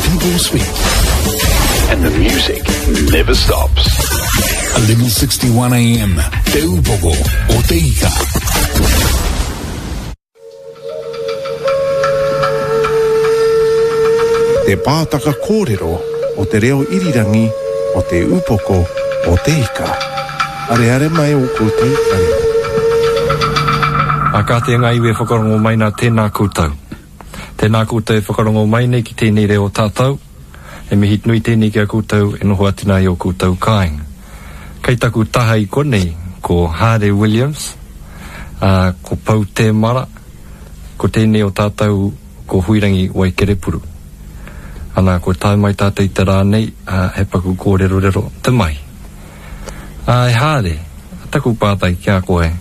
people speak. And the music never stops. 1161 AM, Te Upoko o Te Ika. Te pātaka kōrero o te reo irirangi o Te Upoko o Te Ika. Areare mai ō koutou taringa. Ā, kāti e ngā iwi e whakarongo mai nā, tēnā koutou. Tēnā koutou e whakarongo mai nei ki tēnei reo tātou. He mihi nui tēnei ki a koutou e noho atu nā i ō koutou kāinga. Kei taku taha i konei ko Haare Williams, ā, ko Pou Tēmara, ko tēnei o tātou ko Huirangi Waikerepuru. Ana, kua tae mai tātou i te rā nei, ā, he paku kōrerorero te mahi. Ā, e Haare, taku pātai ki a koe,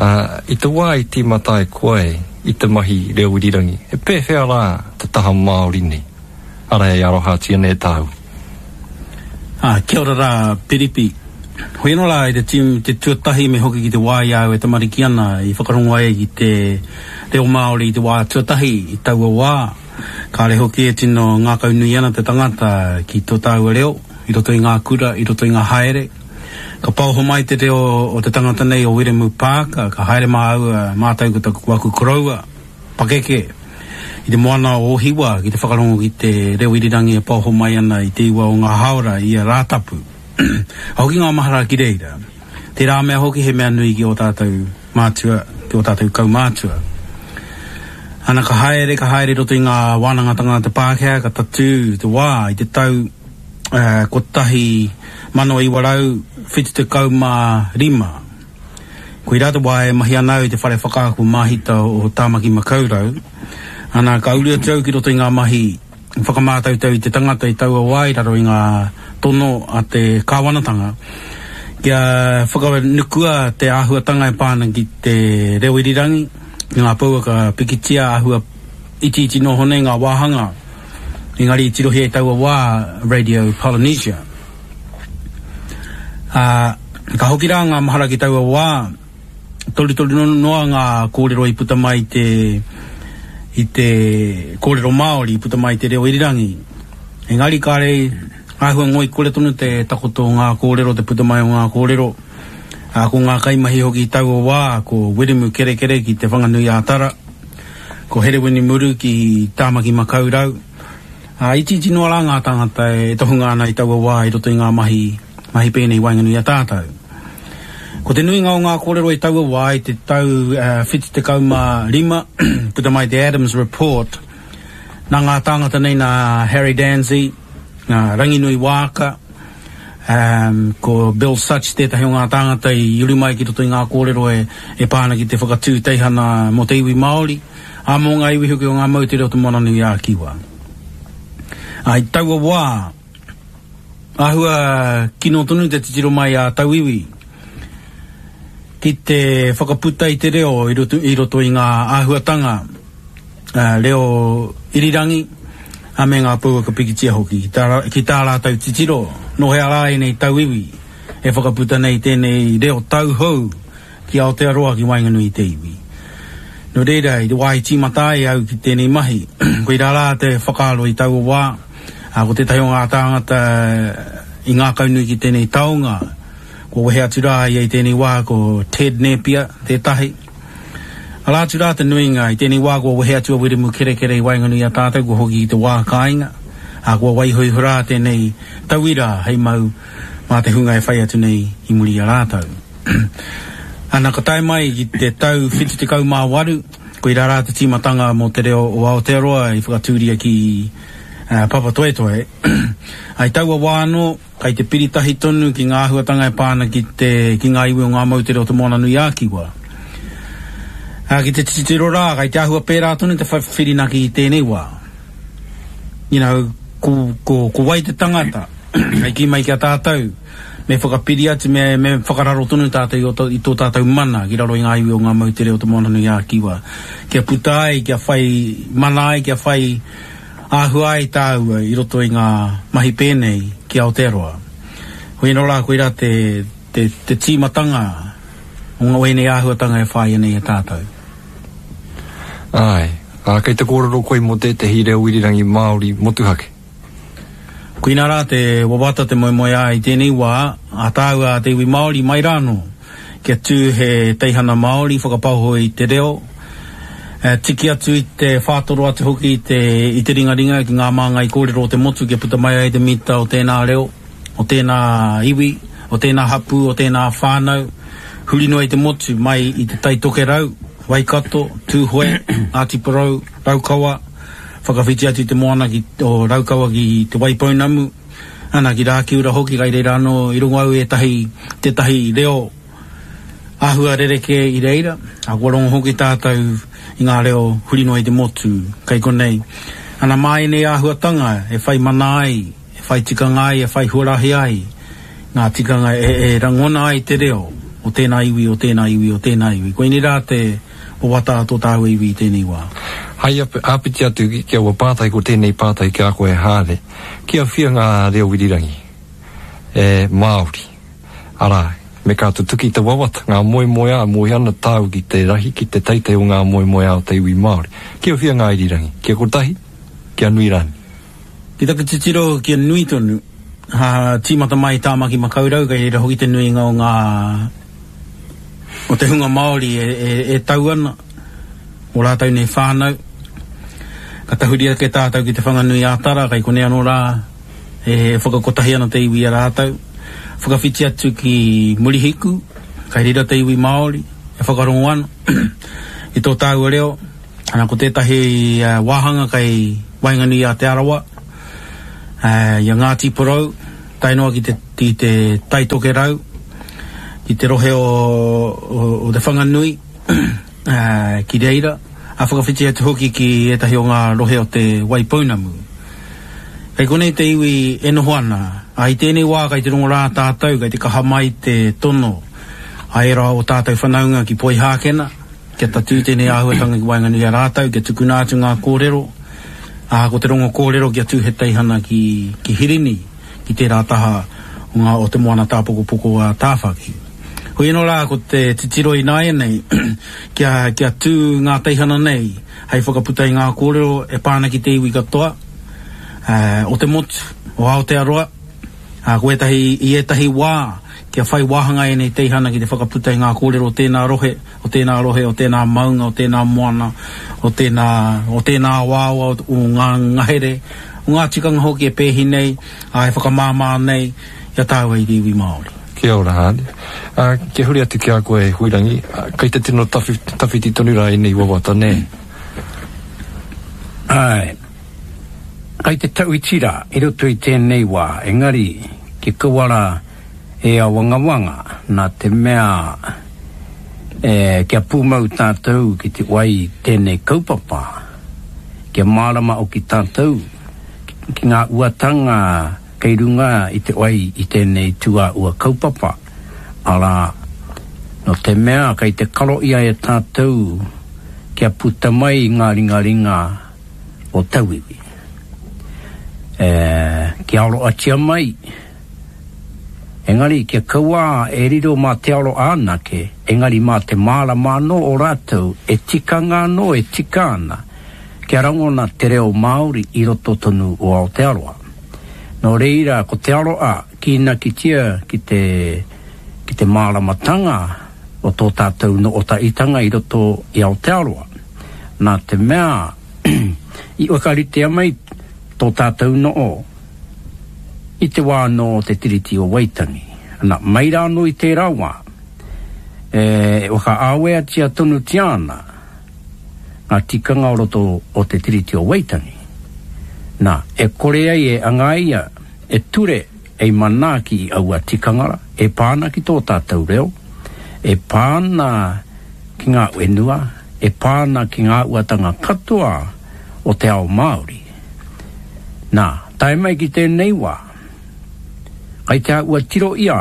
ā, i te wā i tīmata ai koe i te mahi reo irirangi, he pēwhea rā te taha Māori nei, arā e arohatia nei e tāu? Ā, kia ora rā, Piripi. Hoi anō rā i te tīm, te tuatahi me hoki ki te wā i a au e tamariki ana i whakarongo ai ki te reo Māori i te wā tuatahi i taua wā. Kāre hoki e tino ngākaunui ana te tangata ki tō tāua reo i roto i ngā kura, i roto i ngā haere. Ka paoho mai te reo o te tangata nei o Wiremu Parker, ka haere māua, mātou ko taku, aku koroua, pakeke i te moana o Ōhiwa ki te whakarongo ki te reo irirangi e paoho mai ana i te iwa o ngā hāora i ia Rātapu. Ka hoki ngā mahara ki reira. Tērā mea hoki he mea nui ki ō tātou mātua, ki ō tātou kaumātua. Ana ka haere, ka haere i roto i ngā wānangatanga a te Pākehā, ka tatū te wā i te tau 1975. Koirā te wā e mahi ana au i te whare whakaako māhita o Tāmaki Makaurau, ana ka uru atu au ki roto i ngā mahi whakamātautau i te tangata i taua wā i raro i ngā tono a te kāwanatanga kia whakanukua te āhuatanga e pā ana ki te reo irirangi, ki ngā pouaka pikitia āhua itiiti noho nei ngā wāhanga, engari i tirohia i taua wā Radio Polynesia. Ā, ka hoki rā ngā mahara ki taua wā, torutoru noa ngā kōrero i puta mai i te, i te kōrero Māori, i puta mai i te reo irirangi. Engari kāre āhua ngoikore tonu te takoto o ngā kōrero, te puta mai o ngā kōrero. Ā, ko ngā kaimahi hoki i taua wā, ko Wiremu Kerekere ki Te Whanganui-ā-Tara, ko Herewini Muru ki Tāmaki Makaurau, Ā, itiiti noa rā ngā tāngata e tohunga ana i taua wā i roto i ngā mahi, mahi pēnei i waenganui i a tātou. Ko te nuinga o ngā kōrero i taua wā i te tau 75, puta mai te Adams Report, nā ngā tāngata nei nā Harry Dansey, nā Ranginui Waaka, um, ko Bill Sutch tētahi o ngā tāngata i uru mai ki roto i ngā kōrero e, e pā ana ki te whakatū teihana mō te iwi Māori. Ā, mō ngā iwi hoki o ngā moutere o Te Moananui-a-Kiwa. Ā, i taua wā, āhua kino tonu te titiro mai a tauiwi ki te whakaputa i te reo i roto, i roto i ngā āhuatanga reo irirangi, ā, me ngā pouaka pikitia hoki, ki tā, ki tā rātou titiro, nō hea rā ēnei tauiwi e whakaputa nei tēnei reo tauhou ki Aotearoa ki waenganui i te iwi. Nō reira, i te wā i tīmata ai au ki tēnei mahi, koirā rā te whakaaro i taua wā, ā, ko tētahi o ngā tāngata i ngākaunui ki tēnei taonga, kua wehe atu rā ia i tēnei wā ko Ted Nēpia tētahi. Arā atu rā te nuinga, i tēnei wā kua wehe atu a Wiremu Kerekere i waenganui i a tātou, kua hoki ki te wā kāinga, ā, kua waiho iho rā tēnei tauira hei mau mā te hunga e whai atu nei i muri i a rātou. Ana, ka tae mai ki te tau 78, koirā rā te tīmatanga mō te reo o Aotearoa i whakatūria ki Papatoetoe. I taua wā anō, kai te piri tahi tonu ki ngā āhuatanga e pā ana ki te, ki ngā iwi o ngā moutere o Te Moananui-a-Kiwa. Ki te titiro rā, kai te āhua pērā tonu te whirinaki i tēnei wā. You know, ko, ko, ko wai te tangata hei kī mai ki a tātou, me whakapiri atu, me, me whakararo tonu tātou i, o, i tō tātou mana ki raro i ngā iwi o ngā moutere o Te Moananui-a-Kiwa. Kia puta ai, kia whai mana ai, kia whai āhua ai tāua i roto i ngā mahi pēnei ki Aotearoa. Hoi anō rā, koirā te, te, te tīmatanga o ngā ēnei āhuatanga e whāia nei e tātou. Āe. Ā, kei te kōrero koe mō tētehi reo irirangi Māori motuhake. Koinā rā te wawata, te moemoeā i tēnei wā, a tāua a te iwi Māori mai rānō, kia tū he teihana Māori whakapaoho i te reo, tiki atu i te whātoro atu hoki i te, i te ringaringa ki ngā māngai kōrero o te motu kia puta mai ai te mita o tēnā reo, o tēnā iwi, o tēnā hapū, o tēnā whānau, huri noa i te motu, mai i Te Tai Tokerau, Waikato, Tūhoe, Ngāti Porou, Raukawa, whakawhiti atu i te moana ki, o Raukawa ki Te Waipounamu, ana, ki Rākiura hoki, kai reira anō i rongo au ētahi, tētahi reo āhua rerekē i reira, ā, kua rongo hoki tātou i ngā reo huri noa i te motu, kai konei. Ana, mā ēnei āhuatanga e whai mana ai, e whai tikanga ai, e whai huarahi ai ngā tikanga e, e rangona ai te reo o tēnā iwi, o tēnā iwi, o tēnā iwi. Koinei rā te wawata a tō tāua iwi i tēnei wā. Hai āpiti atu ki aua pātai, ko tēnei pātai ki a koe Haare, kia whia ngā reo irirangi e Māori, arā, me ka tutuki te wawata, ngā moemoeā, moe ana tāu ki te rahi, ki te teitei o ngā moemoeā o te iwi Māori. Kia whia ngā irirangi? Kia kotahi? Kia nui rānei? Ki taku titiro kia nui tonu, ha, tīmata mai i Tāmaki Makaurau, kei reira hoki te nuinga o ngā, o te hunga Māori e, e, e tau ana, o rātou nei whānau. Ka tahuri ake tātou ki Te Whanganui a Tara, kei konei anō rā e whakakotahi ana te iwi i a rātou. Whakawhiti atu ki Murihiku, kei reira te iwi Māori e whakarongo ana i tō tāua reo. Ana, ko tētahi wāhanga kei waenganui i a Te Arawa, i a Ngāti Porou, tae noa ki te, ki te Tai Tokerau, ki te rohe o, o, o Te Whanganui, ki reira, a whakawhiti atu hoki ki ētahi o ngā rohe o Te Waipounamu. Kei konei te iwi e noho ana, ā, i tēnei wā kei te rongo rā tātou, kei te kaha mai te tono a ērā o tātou whanaunga ki Poihākena, Kia tatū tēnei āhuatanga ki waenganui i a rātou, kia tukuna atu ngā kōrero, ā, ko te rongo kōrero kia tū he teihana ki, ki Hirini, ki tērā taha o ngā, o te moana tāpokopoko a Tāwhaki. Hoi anō rā, ko te titiro ināianei, kia, kia tū ngā teihana nei hei whakaputa i ngā kōrero e pā ana ki te iwi katoa, ā, o te motu, o Aotearoa, ā, ko ētahi, i ētahi wā, kia whai wāhanga ēnei teihana ki te whakaputa i ngā kōrero o tēnā rohe, o tēnā rohe, o tēnā maunga, o tēnā moana, o tēnā, o tēnā awaawa, o ngā ngahere, o ngā tikanga hoki e pēhi nei, ā, e whakamāmā nei i a tāua i te iwi Māori. Kia ora, Haane. Ā, kia huri atu ki a koe, Huirangi, kei te tino tawhi, tawhiti tonu rā ēnei wawata, nē? Āe. Kei te tauiti rā i roto i tēnei wā, engari, kia kaua rā, e awangawanga, nā te mea e, kia pūmau tātou ki te wai i tēnei kaupapa, kia mārama hoki tātou ki ngā uatanga kei runga i te wai i tēnei tūāua kaupapa, arā, nō te mea kei te karo ia e tātou kia puta mai ngā ringaringa o tauiwi, e, kia aroatia mai. Engari kia kaua e riro mā te aro anake, engari mā te mārama anō o rātou e tikanga anō e tika ana kia rangona te reo Māori i roto tonu o Aotearoa. Nō reira, ko te aroa kīnakitia ki te, ki te māramatanga o tō tātou nootaitanga i roto i Aotearoa. Nā te mea i whakaritea mai tō tātou noo, I te wā anō o te Tiriti o Waitangi, ana, mai rā anō i tērā wā, e whakaaweatia tonutia ana ngā tikanga o roto o te Tiriti o Waitangi, nā, e kore ai e angaia e ture ei manaaki i aua tikanga rā, e pā ana ki tō tātou reo, e pā ana ki ngā whenua, e pā ana ki ngā uatanga katoa o te ao Māori. Nā, tae mai ki tēnei wā, kai te āhua tiro ia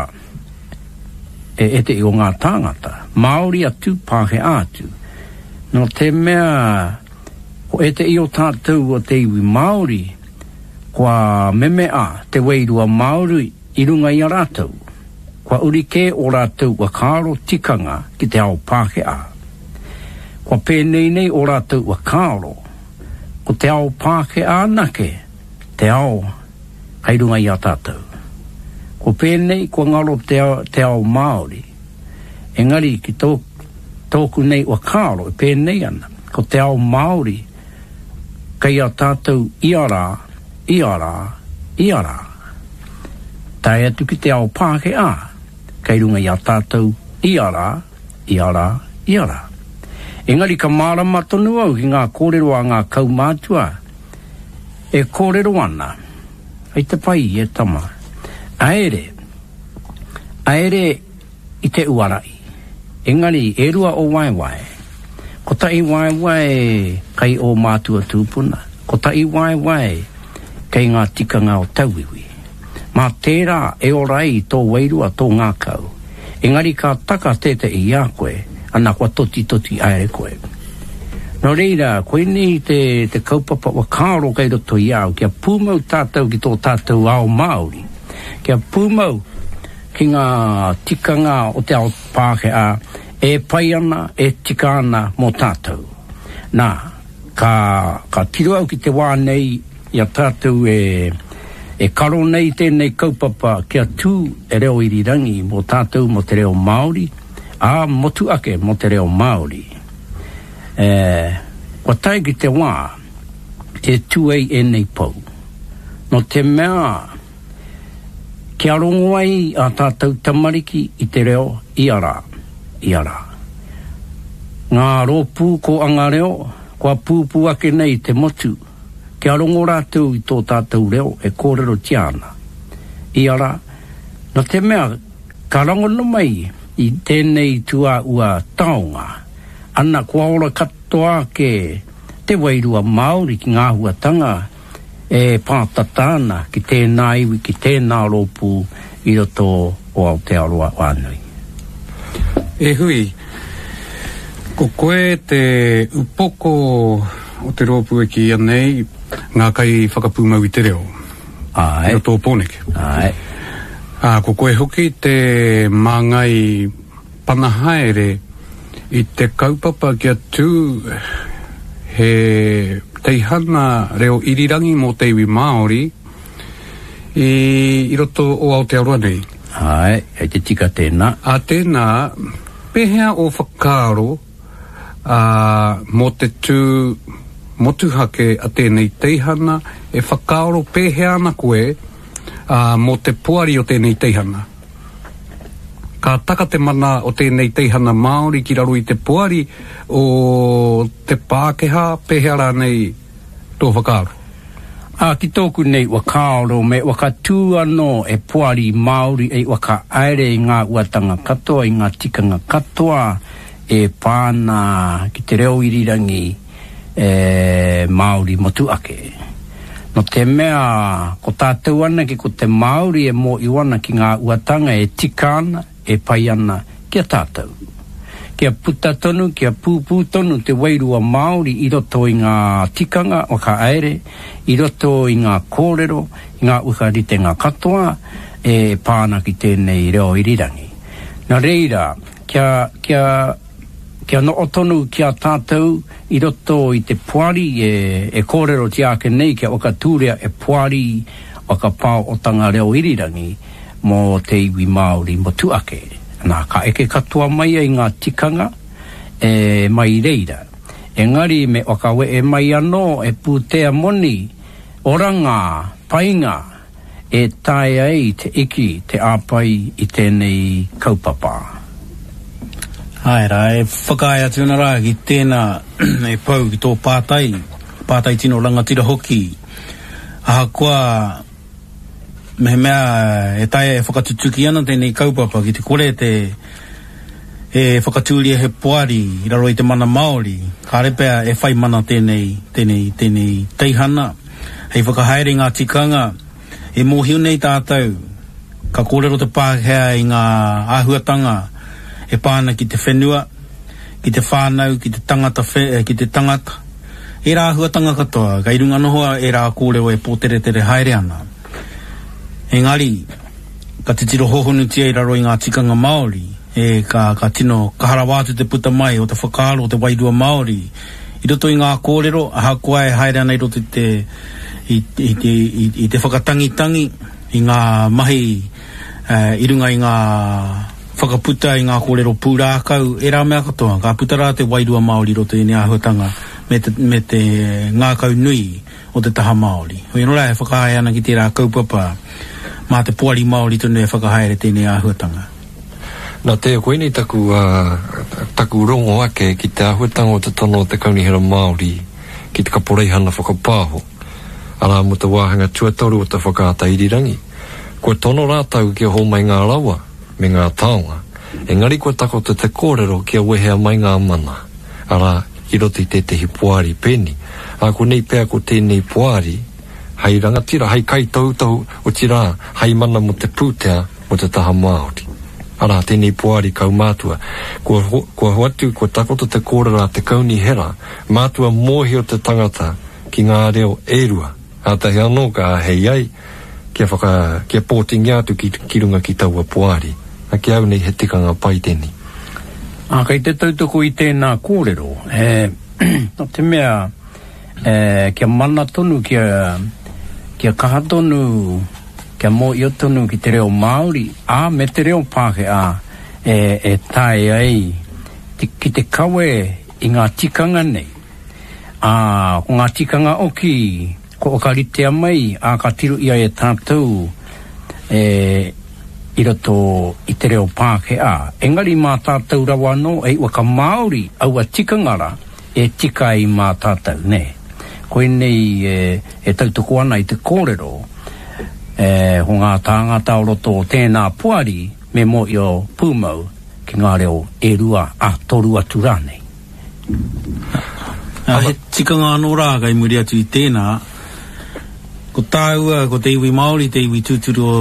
e ētehi o ngā tāngata, Māori atu, Pākehā atu, nō te mea ko ētehi o tātou o te iwi Māori kua memea te wairua Māori i runga i a rātou, kua uri kē ō rātou whakaaro tikanga ki te ao Pākehā. Kua pēnei nei ō rātou whakaaro. Ko te ao Pākehā anake te ao kei runga i a tātou. Ko pēnei kua ngaro te ao, te ao Māori. Engari ki tō, tōku nei whakaaro e pēnei ana, ko te ao Māori kei a tātou ia rā, ia rā, ia rā. Tae atu ki te ao Pākehā kei runga i a tātou ia rā, ia rā, ia rā. Engari ka mārama tonu au ki ngā kōrero a ngā kaumātua e kōrero ana, Hei te pai e tama, aere, aere i te uara'i. Engari e rua o waewae. Kotahi waewae kei ō mātua tūpuna, kotahi waewae kei ngā tikanga o tauiwi. Mā tērā e ora ai tō wairua, tō ngākau. Engari ka taka tētehi i a koe, ana kua totitoti aere koe. Nō reira, koinei te, te kaupapa whakaaro kei roto i a au, kia pūmau tātou ki tō tātou ao Māori, kia pūmau ki ngā tikanga o te ao Pākehā e pai ana, e tika ana mō tātou. Nā, ka, ka tiro au ki te wā nei i a tātou e, e karo nei tēnei kaupapa kia tū e reo irirangi mō tātou mō te reo Māori, ā, motu ake mō te reo Māori. E, kua tae ki te wā e tū ai ēnei pou. Nō te mea, kia rongo ai ā tātou tamariki i te reo ia rā, ia rā. Ngā rōpū kōanga reo kua pūpū ake nei i te motu, kia rongo rātou i tō tātou reo e kōrerotia ana. Ia rā, nō te mea ka rangona mai i tēnei tūāua taonga, ana kua ora katoa ake te wairua Māori ki ngā āhuatanga e pātata ana ki tēnā iwi, ki tēnā rōpū i roto o Aotearoa whānui. E Hui, ko koe te upoko o te rōpū e kīia nei Ngā Kaiwhakapūmau i te Reo. Āe. I roto o Pōneke. Āe. Ā, ko koe hoki te māngai pana haere i te kaupapa kia tū he teihana reo irirangi mō te iwi Māori i, i roto o Aotearoa nei. Āe, kei te tika tēnā. Ā tēnā, pēhea ō whakaaro ā, mō te tū motuhake a tēnei teihana, e whakaaro pēhea ana koe, ā, mō te poari o tēnei teihana? Ka taka te mana o tēnei teihana Māori ki raro i te poari o te Pākehā, pēhea rānei tō whakaaro? Ā, ki tōku nei whakaaro me whakatū anō e poari Māori ei whakahaere i ngā uatanga katoa, i ngā tikanga katoa e pā ana ki te reo irirangi e Māori motuake. Nō te mea ko tātou anake ko te Māori e mōhio ana ki ngā uatanga e tika ana, e pai ana ki a tātou. Kia puta tonu, kia pūpū tonu te wairua Māori i roto i ngā tikanga whakahaere, i roto i ngā kōrero, i ngā whakaritenga katoa e pā ana ki tēnei reo irirangi. Nā reira, kia, kia, kia noho tonu ki a tātou i roto i te poari e, e kōrerotia ake nei kia whakatūria e poari whakapaohotanga reo irirangi, mō te iwi Māori motuake. Nā, ka eke katoa mai ai ngā tikanga e mai i reira. Engari me whakawehe mai anō e pūtea moni, oranga, painga e taea ai te iki te āpai i tēnei kaupapa. Āe rā, e whakaae atu ana rā ki tēnā e Pou ki tō pātai, pātai tino rangatira hoki. Ahakoa Mehemea e taea e whakatutuki ana tēnei kaupapa ki te kore te e whakatūria he poari i raro i te mana Māori, kāre pea e whai mana tēnei, tēnei, tēnei teihana hei whakahaere i ngā tikanga e mōhio nei tātou ka kōrero te Pākehā i ngā āhuatanga e pā ana ki te whenua, ki te whānau, ki te tangata, ki te tangata. Ērā āhuatanga katoa, kei runga noho ērā kōrero e pōteretere haere ana. Engari, ka titiro hōhonutia i raro i ngā tikanga Māori, e, ka, ka tino kaha rawa atu te puta mai o te whakaaro o te wairua Māori I roto i ngā kōrero, ahakoa e haere ana i roto i te, i, i, i, i, i te whakatangitangi, i ngā mahi i runga i ngā whakaputa i ngā kōrero pūrākau, ērā mea katoa, ka puta rā te wairua Māori i roto i ēnei āhuatanga me te, me te ngākau nui o te taha Māori. Hoi anō rā e whakahae ana ki tērā kaupapa, mā te Poari Māori tonu e whakahaere tēnei āhuatanga. Nā te, koinei taku, taku rongo ake ki te āhuatanga o te tono o te Kaunihera Māori ki te Kaporeihana Whakapāho, arā mō te wāhanga tuatoru o te whakaata irirangi. Kua tono rātou kia hōmai ngā rawa me ngā taonga, engari kua takoto te kōrero kia wehea mai ngā mana, arā, i roto i tētehi poari pēni. Ā konei pea ko tēnei poari hei rangatira, hei kaitohutohu, otirā, hei mana mō te pūtea mō te taha Māori. Arā, tēnei poari kaumātua. Kua, kua hoatu, kua takoto te kōrero a te kaunihera, mātua mōhio te tangata ki ngā reo e rua, kātahi anō ka āhei ai kia whaka, kia pōtingia atu ki, ki runga ki taua poari. Na, ki au nei he tikanga pai tēnei. Ā, kei te tautoko i tēnā kōrero, e, nō te mea, e, kia mana tonu, kia, kia kaha tonu, kia mōhio tonu ki te reo Māori, ā, me te reo Pākehā, e, e taea ai te, ki te kawe i ngā tikanga nei. Ā, ko ngā tikanga oki, Kua whakaritea mai, ā, ka tiro ia e tātou e, i roto i te reo Pākehā. Engari mā tātou rawa anō e whakamāori aua tikanga rā e tika ai mā tātou, nē. Koinei e, e tautoko ana i te kōrero, e, ko ngā tāngata o roto o tēnā poari me mōhio pūmau ki ngā reo e rua, ā, toru atu rānei. Ā, he tikanga anō rā kei muri atu i tēnā, ko tāua, ko te iwi Māori, te iwi tūturu o,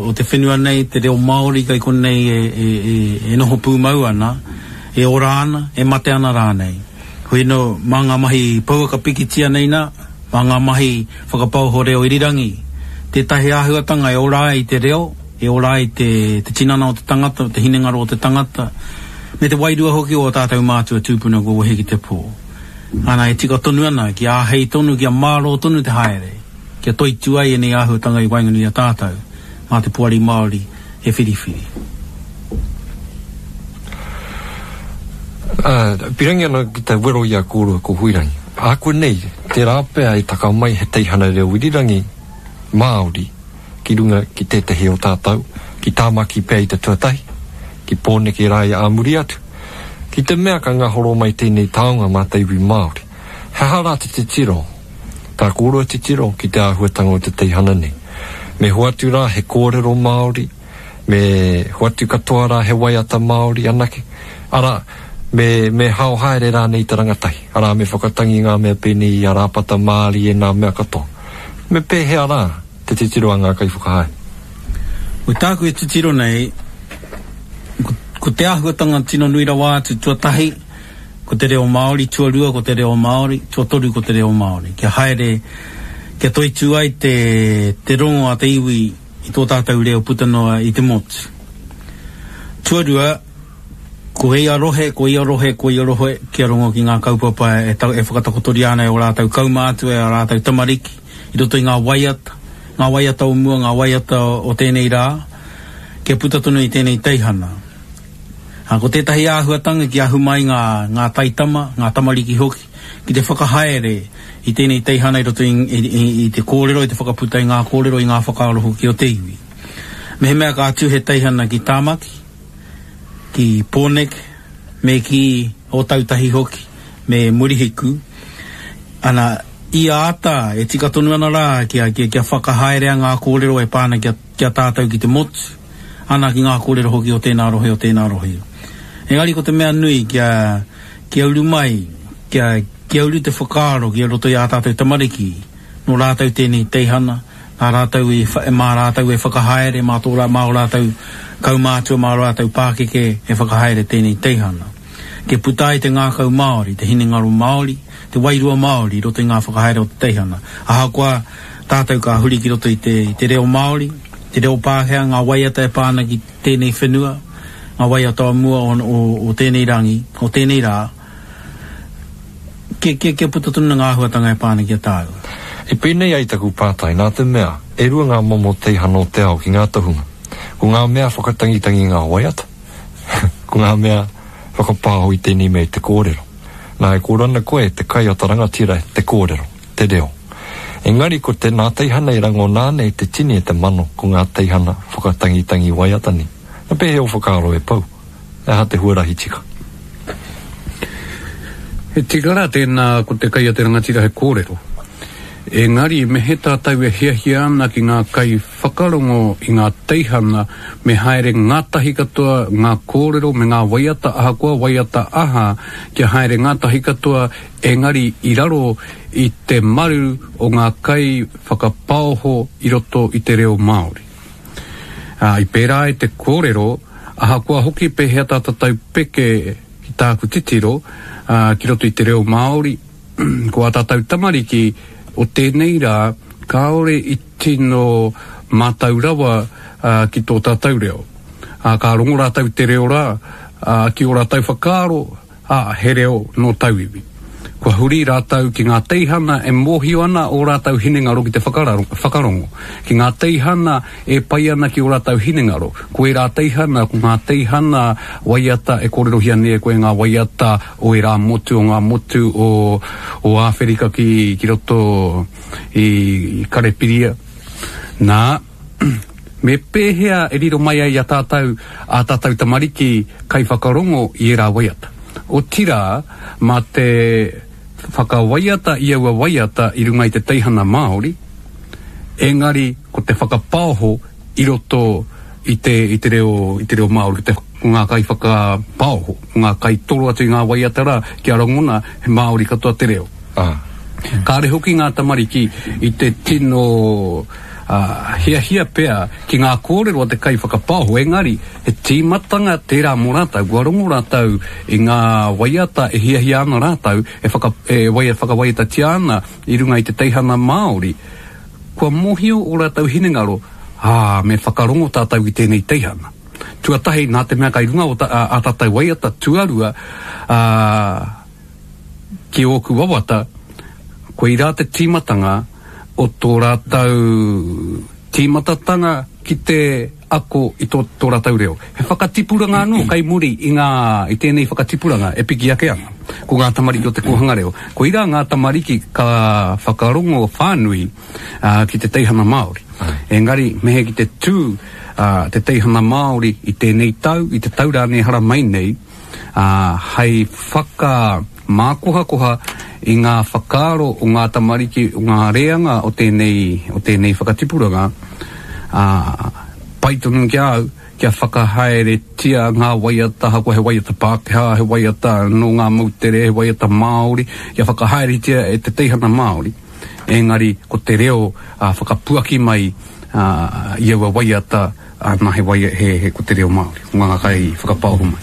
o te whenua nei, te reo Māori kei konei e, e, e, e noho pūmau ana, e ora ana, e mate ana rānei. Hoi anō, mā ngā mahi pouaka pikitia nei nā, mā ngā mahi whakapaoho reo irirangi, tētahi āhuatanga e ora ai te reo, e ora ai te, te tinana o te tangata, te hinengaro o te tangata, me te wairua hoki o ō tātou mātua tūpuna kua wehe ki te pō. Ana, e tika tonu ana, kia āhei tonu, kia mārō tonu te haere, kia toitū ai ēnei āhuatanga i waenganui i a tātou, mā te Poari Māori e whiriwhiri. Ā, pirangi ana ki te wero i a kōrua ko Huirangi. Ākuanei, tērā pea e taka mai he teihana reo irirangi Māori, ki runga ki tētehi o tātou, ki Tāmaki pea i te tuatahi, ki Pōneke rāia ā muri atu. Ki te mea ka ngahoro mai tēnei taonga mā te iwi Māori, he aha rā te titiro, tā kōrua titiro ki te āhuatanga o te teihana nei? Me hoatu rā he kōrero Māori, me hoatu katoa rā he waiata Māori anake, arā, me, me hao haere rānei i te rangatahi, arā, me whakatangi ngā mea pēnei i a Rāpata Mārie nā mea katoa. Me pēhea rā? te titiro a ngā kaiwhakahaere. Ko tāku e titiro nei, ko, ko te āhuatanga tino nui rawa atu, tuatahi, ko te reo Māori, tuarua ko te reo Māori, tuatoru ko te reo Māori. Kia haere, kia toitū ai te, te rongo a te iwi i tō tātou reo puta noa i te motu. Tuarua, ko ia rohe, ko ia rohe, ko ia rohe, kia rongo ki ngā kaupapa e, e whakatakotoria ana e ō rātou kaumātua, e ā rātou tamariki, i roto i ngā waiata, ngā waiata o mua, ngā waiata o tēnei rā, kia puta tonu i tēnei teihana. Ā, ko tētahi āhuatanga kia ahu mai ngā, ngā taitama, ngā tamariki hoki, ki te whakahaere i tēnei teihana i roto i, i, i, i te kōrero, i te whakaputa i ngā kōrero, i ngā whakaaro hoki o te iwi. Mehemea ka tū he teihana ki Tāmaki, ki Pōneke, me ki Ōtautahi hoki, me Murihiku, ana, ia ata e tika tonu ana rā kia, kia, kia whakahaerea ngā kōrero e pā ana ki a, ki a tātou ki te motu, ana ki ngā kōrero hoki o tēnā rohe, o tēnā rohe. Engari ko te mea nui kia, kia uru mai, kia, kia uru te whakaaro ki roto i ā tātou tamariki, nō rātou tēnei teihana, nā rātou i, mā rātou e whakahaere, mā tō rā, mā ō rātou kaumātua, mā ō rātou pākeke e whakahaere tēnei teihana. Kia puta ai te ngākau Māori, te hinengaro Māori, te wairua Māori i roto i ngā whakahaere o te teihana. Ahakoa tātou ka huri ki roto i te, i te reo Māori, te reo Pākehā, ngā waiata e pā ana ki tēnei whenua, ngā waiata o mua o, o, o tēnei rangi, o tēnei rā, Kia, kia, kia puta tonu ngā āhuatanga e pā ana ki a tāua. I pēnei ai taku pātai, nā te mea, e rua ngā momo teihana o te ao ki ngā tohunga. Ko ngā mea whakatangitangi i ngā waiata, ko ngā mea whakapāho i tēnei mea i te kōrero. Nā, e kōrero ana koe, te kai o ta rangatira, te kōrero, te reo. Engari ko te nā teihana i rangona ana e te tini e te mano, ko ngā teihana whakatangitangi waiata nei. Na pēhea ō whakaaro e Pou? He aha te huarahi tika? He tika rā tēnā ko te kai a te rangatira he kōrero. Engari me he tātou e hiahia ana ki ngā kai whakarongo i ngā teihana me haere ngātahi katoa ngā kōrero me ngā waiata ahakoa waiata aha kia haere ngātahi katoa engari i raro i te maru o ngā kai whakapaoho i roto i te reo Māori. Ā, i pērā ai te kōrero, ahakoa hoki pēhea tā tātou peke ki tāku titiro, ā, ki roto i te reo Māori, ko ā tātou tamariki o tēnei rā kāore i tino mātau rawa ā, ki tō tātou reo. Ā, ka rongo rātou i te reo rā, ā, ki ō rātou whakaaro, ā, he reo nō tauiwi. Kua huri rātou ki ngā teihana e mōhio ana ō rātou hinengaro ki te whakarongo, ki ngā teihana e pai ana ki ō rātou hinengaro. Ko ērā teihana, ko ngā teihana waiata e kōrerohia nei e koe ngā waiata o ērā motu, o ngā motu o, o Āwherika ki, ki roto i, i Karepiria. Nā, Me pēhea e riro mai ai i a tātou ā tātou tamariki kaiwhakarongo i ērā waiata? Otirā, mā te whakawaiata i aua waiata i runga i te teihana Māori, engari ko te whakapaoho i roto i te, i te reo, i te reo Māori, ko te, ko ngā kaiwhakapaoho, ko ngā kaitoro atu i ngā waiata rā, kia rangona he Māori katoa te reo. Kāre hoki ngā tamariki i te tino hiahia pea ki ngā kōrero a te kaiwhakapaoho, engari he tīmatanga tērā mō rātou, kua rongo rātou i ngā waiata e hiahia ana rātou, e whaka, e waia, whakawaiatatia ana i runga i te teihana Māori, kua mōhio ō rātou hinengaro, ā, me whakarongo tātou ki tēnei teihana. Tuatahi, nā te mea kai runga o ta, ā, ā tātou waiata, tuarua, ā, ki ōku wawata, koirā te tīmatanga o tō rātou tīmatatanga ki te ako i tō, tō rātou reo. He whakatipuranga anō kai muri i ngā, i tēnei whakatipuranga e piki ake ana. Ko ngā tamariki o te kōhanga reo. Koirā ngā tamariki ka whakarongo whānui ā, ki te teihana Māori. Engari, me he ki te tū ā, te teihana Māori i tēnei tau, i te tau rānei haramai nei, ā, hei whakamākohakoha i ngā whakaaro o ngā tamariki, o ngā reanga o tēnei, o tēnei whakatipuranga, ā, pai tonu ki a au kia whakahaeretia ngā waiata, ahakoa he waiata Pākehā, he waiata nō ngā moutere, he waiata Māori, kia whakahaeretia e te teihana Māori, engari ko te reo ā, whakapuaki mai ā, i aua waiata, Ā, nā, he waia, he, he, ko te reo Māori, ko ngā kai whakapaoho mai.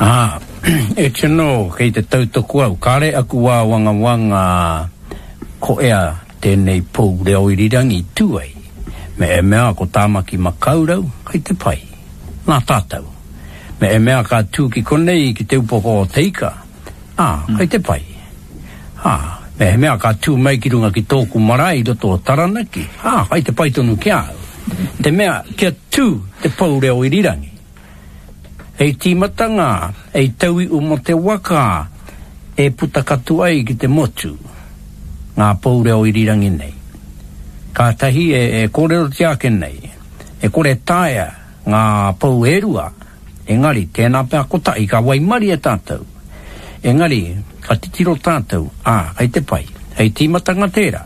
Ā, e tino, kei te tautoko au, kāre aku āwangawanga ko ea tēnei pou reo irirangi tū ai. Me e mea ko Tāmaki Makaurau, kei te pai. Nā tātou. Me e mea ka tū ki konei ki Te Upoko o Te Ika, Ā, kei te pai. Ā, mehemea ka tū mai ki runga ki tōku marae i roto o Taranaki, ā, kei te pai tonu ki a au. Te mea, kia tū te pou reo irirangi. Hei tīmatanga, hei tauiu mō te waka e puta katoa ai ki te motu ngā pou reo irirangi nei. Kātahi e, e kōrerotia ake nei, e kore taea ngā pou e rua Engari, tēnā pea kotahi ka waimarie tātou. Engari, ka titiro tātou, ā, kei te pai. Hei tīmatanga tērā.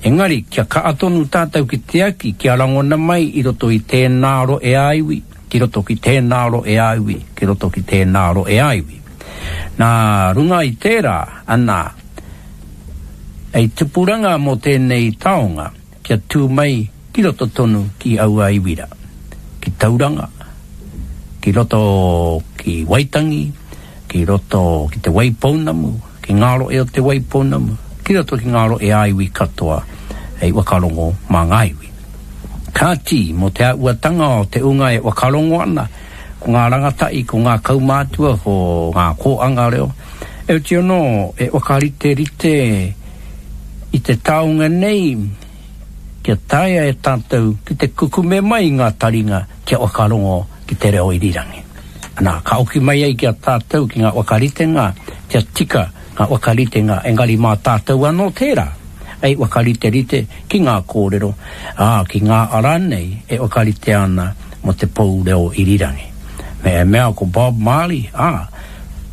Engari, kia kaha tonu tātou ki te aki kia rangona mai i roto i tēnā rohe-ā-iwi, ki roto ki tēnā rohe-ā-iwi, ki roto ki tēnā rohe-ā-iwi. Nā runga i tērā, anā, hei tupuranga mō tēnei taonga, kia tū mai ki roto tonu ki aua iwi rā, ki Tauranga, ki roto ki Waitangi, ki roto ki Te Waipounamu, ki ngā rohe o Te Waipounamu, ki roto ki ngā rohe ā-iwi katoa hei whakarongo mā ngā iwi. Kāti, mō te āhuatanga o te unga e whakarongo ana, ko ngā rangatahi, ko ngā kaumātua, ko ngā kōanga reo, Heoti anō, e whakariterite i te taonga nei kia taea e tātou ki te kukume mai i ngā taringa kia whakarongo ki te reo irirangi. Ana, ka oki mai ai ki a tātou ki ngā whakaritenga kia tika ngā whakaritenga engari mā tātou anō tērā hei whakariterite ki ngā kōrero, ā, ki ngā ara nei e whakaritea ana mō te pou reo irirangi. Me e mea ko Bob Marley, ā,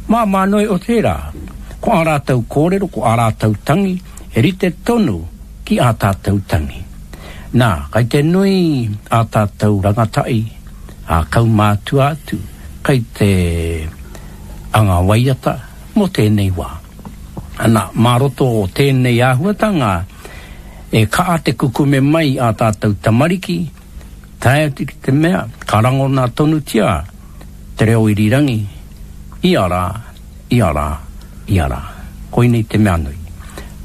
māmā noa iho tērā. Ko ā rātou kōrero, ko ā rātou tangi, he rite tonu ki ā tātou tangi. Nā, kai te nui ā tātou rangatahi, ā kaumātua atu, kai te anga waiata mō tēnei wā. Ana, mā roto o tēnei āhuatanga, e kaha te kukume mai ā tātou tamariki, tae atu ki te mea, ka rangona tonutia te reo irirangi, ia rā, ia rā, ia rā. Koinei te mea nui.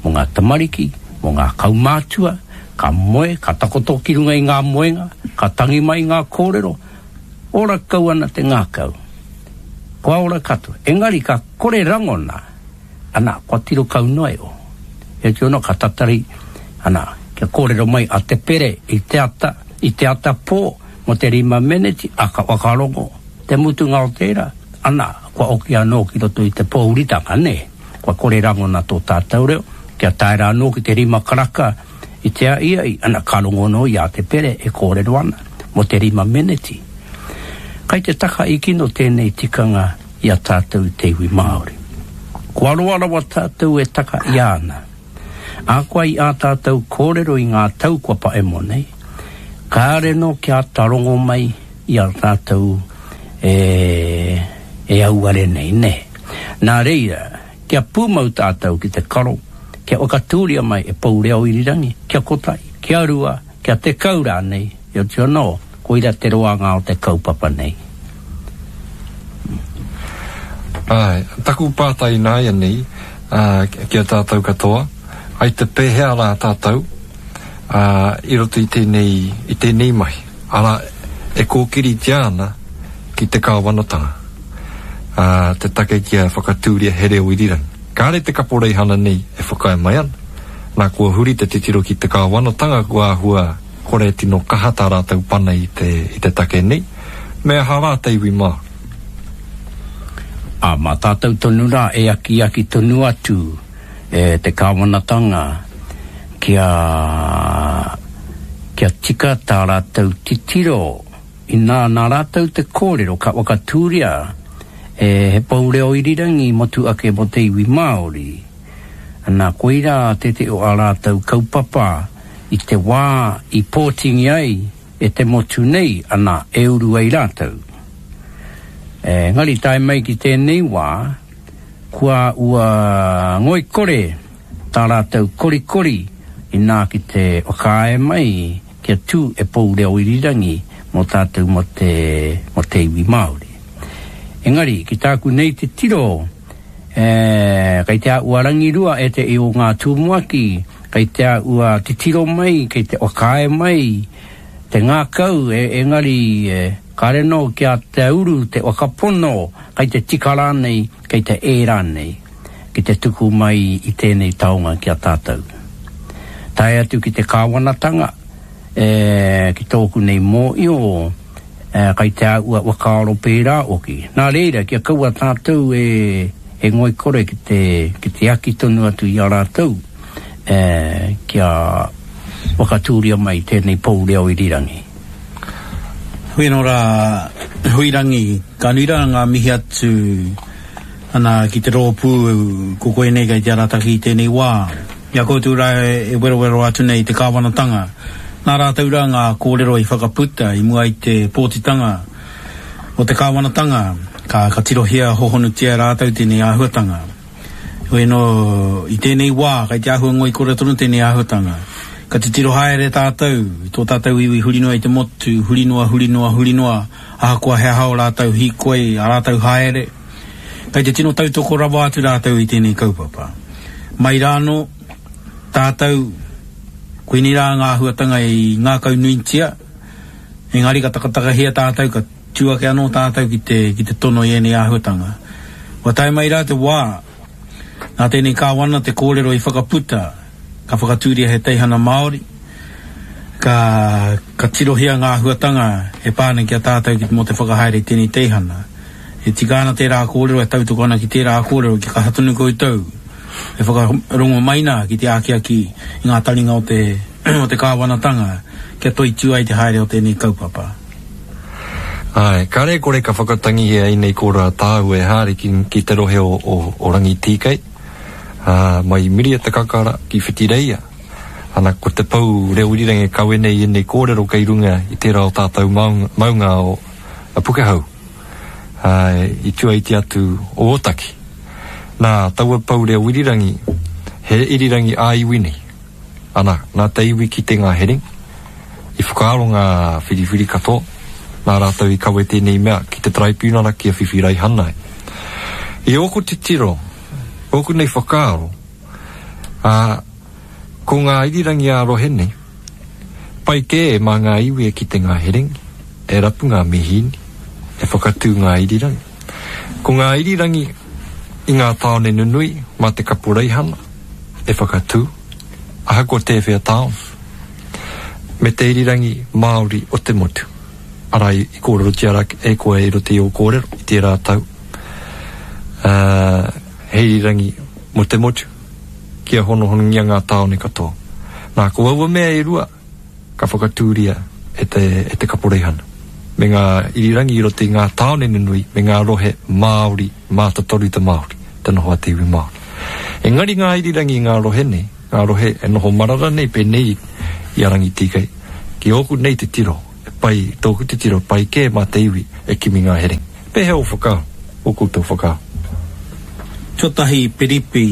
Mō ngā tamariki, mō ngā kaumātua, ka moe, ka takoto ki runga i ngā moenga, ka tangi mai ngā kōrero, ora kau ana te ngākau. Kua ora katoa. Engari ka kore rangona, ana, kua tiro kau noa iho. Heoti anō ka tatari, ana, kia kōrero mai a Te Pere i te ata, i te ata pō, mō te rima meneti, a ka whakarongo te mutunga o tērā, ana, kua oki anō ki roto i te pōhuritanga, nē, kua kore rangona tō tātou reo, kia tae rā anō ki te rima karaka i te aʻiaʻi, ana, ka rongo anō i a Te Pere e kōrero ana mō te rima meneti. Kai te taka i kino tēnei tikanga i a tātou te iwi Māori. Kua roa rawa tātou e taka i ana. Ahakoa i ā tātou kōrero i ngā tau kua paemo nei, kāore nō kia āta rongo mai i a tātou e, e auare nei, nē. Nā reira, kia pūmau tātou ki te karo, kia whakatūria mai e Pou Reo Irirangi, kia kotahi, kia rua, kia tekau rānei, heoti anō, koira te roanga o te kaupapa nei. Āe, taku pātai ināianei, ā, ki a tātou katoa, ai te pēhea rā tātou, ā, i roto i tēnei, i tēnei mahi, arā, e kōkiritia ana ki te kāwanatanga, ā, te take kia whakatūria he reo irirangi. Kāre te kaporeihana nei e whakaae mai ana, nā kua huri te titiro ki te kāwanatanga kua āhua kore tino kaha tā rātou pana i te, i te take nei, me aha rā te iwi Māori? Ā, mā tātou tonu rā e akiaki tonu atu e te kāwanatanga kia, kia tika tā rātou titiro inā nā rātou te kōrero ka whakatūria e he pou reo irirangi motu ake mō te iwi Māori. Ana, koirā tētehi o ā rātou kaupapa i te wā i pōtingia ai e te motu nei, ana, e uru ai rātou. Engari tae mai ki tēnei wā, kua ua ngoikore tā rātou korikori inā ki te whakaae mai kia tū e pou reo irirangi mō tātou mō te, mō te iwi Māori. Engari, ki tāku nei titiro, e, kei te āhua rangirua e te i o ngā tumuaki, Kei te āhua titiro mai, kei te whakaae mai te ngākau, engari kāre anō kia te uru te whakapono kei te tika rānei, kei te ē rānei ki te tuku mai i tēnei taonga ki a tātou. Tae atu ki te kāwanatanga, ki tōku nei mōio, Kai te āhua whakaaro pērā hoki. Nā reira, kia kaua tātou e, e ngoikore ki te, ki te aki tonu atu i a rātou, e, kia whakatūria mai tēnei pou reo irirangi. Hui anō rā, Huirangi, ka nui rā ngā mihi atu ana ki te rōpū ko koe nei kei te arataki i tēnei wā. I a koutou rā e werowero atu nei i te kāwanatanga, nā rātou rā ngā kōrero i whakaputa i mua i te pōtitanga o te kāwanatanga, ka, ka tirohia hohonutia e rātou tēnei āhuatanga. Heoi anō, i tēnei wā, kei te āhua ngoikore tonu tēnei āhuatanga. Ka titiro haere tātou, i tō tātou iwi huri noa i te motu, huri noa, huri noa, huri noa, ahakoa he aha ō rātou hīkoi, ā rātou haere, Kei te tino tautoko rawa atu rātou i tēnei kaupapa. Mai rānō, tātou, koinei rā ngā āhuatanga i ngākaunuitia, engari ka takatakahia tātou, ka tū ake anō tātou ki te, ki te tono i ēnei āhuatanga. Kua tae mai rā te wā, Nā tēnei kāwana te kōrero i whakaputa, ka whakatūria he teihana Māori, ka, ka tirohia ngā āhuatanga e pā ana ki a tātou ki, mō te whakahaere i tēnei teihana. E tika ana tērā kōrero, e tautoko ana ki tērā kōrero, kia kaha tonu koutou e whakarongo mai nā ki te akiaki i ngā taringa o te, o te kāwanatanga kia toitū ai te haere o tēnei kaupapa. Āe, kāre e kore ka whakatangihia ēnei kōrero a tāu e haere ki, ki te rohe o, o, o Rangitīkei, ā, mai i Miria te Kakara ki Whitireia. Ana, ko te pou reo irirangi e kawe nei i ēnei kōrero kei runga i tērā o tātou maunga, maunga o a Pukehou, āe, i tua iti atu o Ōtaki. Nā, taua pou reo irirangi, he irirangi ā-iwi nei. Ana, nā te iwi kite ngā herengi, i whakaaro ngā whiriwhiri katoa, nā rātou i kawe tēnei mea ki te taraipiunara kia whiwhi raihana ai. I ōku titiro, ōku nei whakaaro, ā, ko ngā irirangi ā-rohe nei, pai kē mā ngā iwi e kite ngā herengi, e rapu ngā mihīni, e whakatū ngā irirangi. Ko ngā irirangi i ngā tāone nunui mā te kaporeihana e whakatū, ahakoa tēwhea tāone, me te irirangi Māori o te motu, arā i kōrerotia rā e koe i roto i ō kōrero i tērā tau, ā, he irirangi mō te motu, kia honohonongia ngā tāone katoa. Nā, ko aua mea e rua, ka whakatūria e te, e te kaporeihana, me ngā irirangi i roto i ngā tāone nunui me ngā rohe Māori mātotoru te Māori, te noho a te iwi Māori. Engari ngā irirangi i ngā rohe nei, ngā rohe e noho marara nei pēnei i a Rangitīkei, ki ōku nei titiro, e pai, tōku titiro, pai kē mā te iwi e kimi ngā herengi. Pēhea ō whakaaro, ō koutou whakaaro? Tuatahi, Piripi,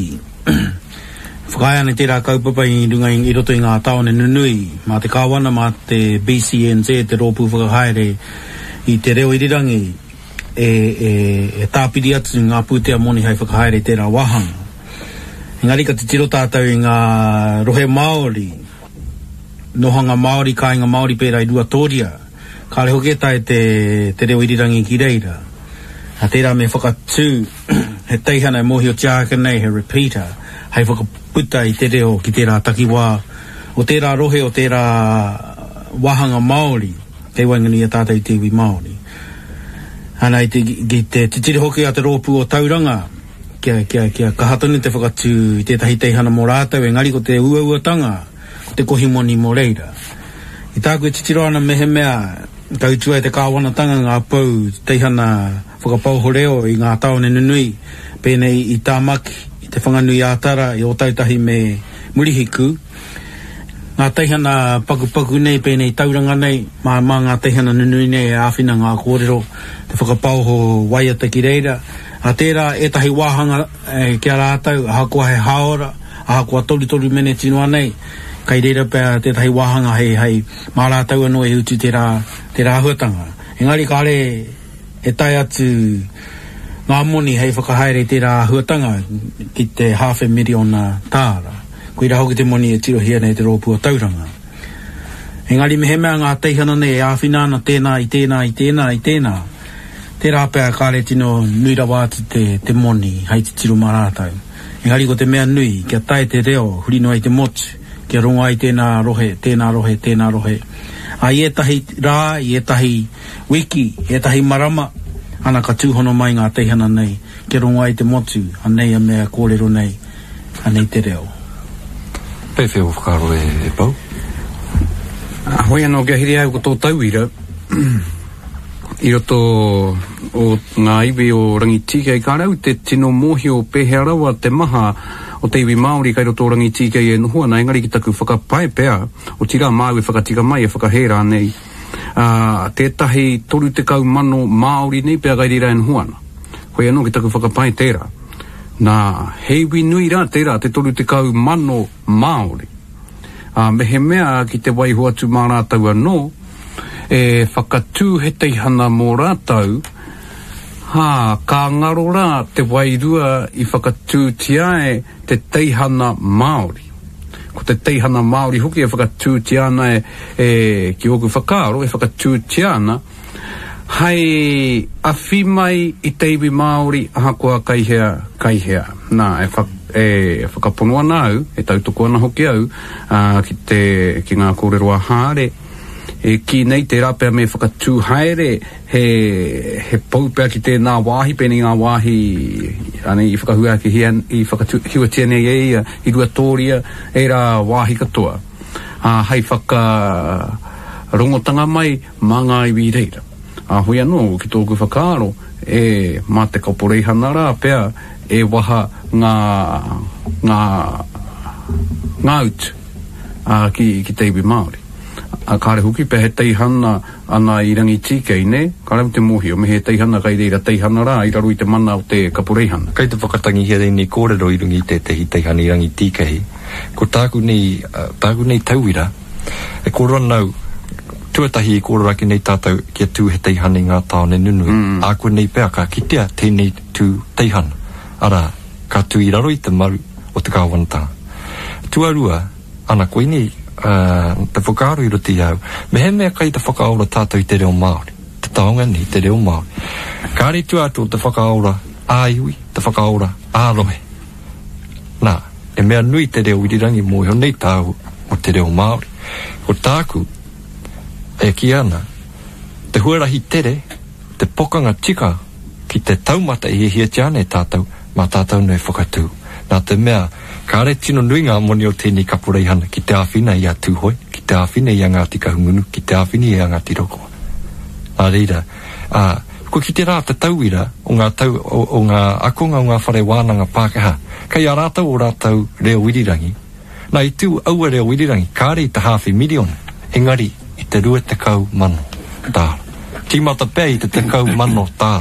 Whakaae ana tērā kaupapa i runga i roto i ngā tāone nunui, mā te Kāwana, mā te BCNZ, te rōpū whakahaere i te reo irirangi, e, e, e tāpiri atu ngā pūtea moni hei whakahaere i tērā wāhanga. Engari ka titiro tātou i ngā rohe Māori, nohanga Māori, kāinga Māori pērā i Ruatōria, kāre hoki e tae te, te reo irirangi ki reira. Nā tērā me whakatū he teihana e mōhiotia ake nei he repeater hei whakaputa i te reo ki tērā takiwā o tērā rohe o tērā wāhanga Māori kei waenganui i a tātou i te iwi Māori. Ana i te, ki te titiro hoki a te rōpū o Tauranga kia, kia, kia kaha tonu te whakatū i tētahi teihana mō rātou engari ko te uauatanga ko te kohi moni mō reira. I tāku e titiro ana mehemea ka utua e te kāwanatanga ngā pou teihana whakapaoho reo i ngā tāone nunui pēnei i Tāmaki, i Te Whanganui-ā-Tara, i Ōtautahi me Murihiku. Ngā teihana pakupaku nei pēnei i Tauranga nei, mā, mā ngā teihana nunui nei e āwhina ngā kōrero, te whakapaoho waiata ki reira. Ā, tērā ētahi wāhanga ki a rātou, ahakoa he hāora, ahakoa torutoru meneti noa nei, kai reira pea tētahi wāhanga hei, hei, mā rātou anō e utu tērā, tērā āhuatanga. Engari kāre e tae atu ngā moni hei whakahaere i tērā āhuatanga ki te hāwhe miriona tāra. Koirā hoki te moni e tirohia nei e te Rōpū o Tauranga. Engari mehemea ngā teihana nei e āwhina ana tēnā i tēnā i tēnā i tēnā, tērā pea kāre tino nui rawa atu te, te moni hei titiro mā rātou. Engari ko te mea nui, kia tae te reo huri noa i te motu, kia rongo ai tēnā rohe, tēnā rohe, tēnā rohe. Ā, i ētahi rā, i ētahi wiki, ētahi marama, ana ka tūhono mai ngā teihana nei, kia rongo ai te motu, anei a mea kōrero nei, anei te reo. Pēwhea ō whakaaro e Pou? Hoi anō kia hiri au ko tō tauira i roto o ngā iwi o Rangitīkei, kāre au te tino mōhio pēhea rawa te maha o te iwi Māori kai roto o Rangitīkei e noho ana, engari ki taku whakapae pea, otirā māu e whakatika mai, e whakahē rānei, ā, tētahi 30,000 Māori nei pea kai reira e noho ana. Hoi anō ki taku whakapae tērā. Nā, he iwi nui rā tērā te 30,000 Māori. Ā, mehemea ki te waiho atu mā rātou anō, e whakatū he teihana mō rātou, hā, ka ngaro rā te wairua i whakatūtia ai te teihana Māori. Ko te teihana Māori hoki e whakatūtia ana e, e, ki ōku whakaaro, e whakatūtia ana, Hai awhi mai i te iwi Māori ahakoa kai hea, kai hea. Nā, e, wha, e whakapono ana au, e tautoko ana hoki au, ā, ki te, ki ngā kōrero a Hāre, e kī nei tērā pea me whakatū haere he, he pou pea ki tēnā wāhi, pēnei ngā wāhi anei i whakahuakihia, i whakatū, nei e ia, i Ruatōria, ērā wāhi katoa, ā, hai whakarongotanga mai mā ngā iwi i reira. Ā, hoi anō, ki tōku whakaaro, e, mā te kaporeihana rā pea e waha ngā, ngā, ngā utu, ā, ki, ki te iwi Māori. Ā, kāre hoki pea he teihana ana i Rangitīkei, nē? Kāre au te mōhio, me he teihana kai reira teihana rā i raro i te mana o te kaporeihana. Kei te whakatangihia ēnei kōrero i runga i tētehi teihana i Rangitīkei. Ko tāku nei, tāku nei tauira, E kōrero ana au, tuatahi i kōrero ake nei tātou kia tū he teihana i ngā tāone nunui. Ākuanei pea ka kitea tēnei tū teihana, arā, ka tū i raro i te maru o te kāwanatanga. Tuarua, ana koinei te whakaaro i roto i a au, mehemea kai te whakaora tātou i te reo Māori, te taonga nei, te reo Māori, kāre i tua atu o te whakaora ā-iwi, te whakaora ā-rohe. Nā, he mea nui te reo irirangi mōhio nei tāu mō te reo Māori. Ko tāku e kī ana, te huarahi tere, te pokanga tika ki te taumata e hiahiatia ana e tātou, mā tātou anō e whakatū. Nā te mea, kāre tino nui ngā moni o tēnei kaporeihana ki te āwhina i a Tūhoe, ki te āwhina i a Ngāti Kahungunu, ki te āwhina i a Ngāti Raukawa. Nā reira, ā, kua kite rā te tauira o ngā tau, o, o ngā akonga o ngā whare wānanga Pākehā, kei a rātou ō rātou reo irirangi. Nā, i tū aua reo irirangi, kāre i te hāwhe miriona, engari i te 20,000 tāra. Tīmata pea i te 10,000 tāra.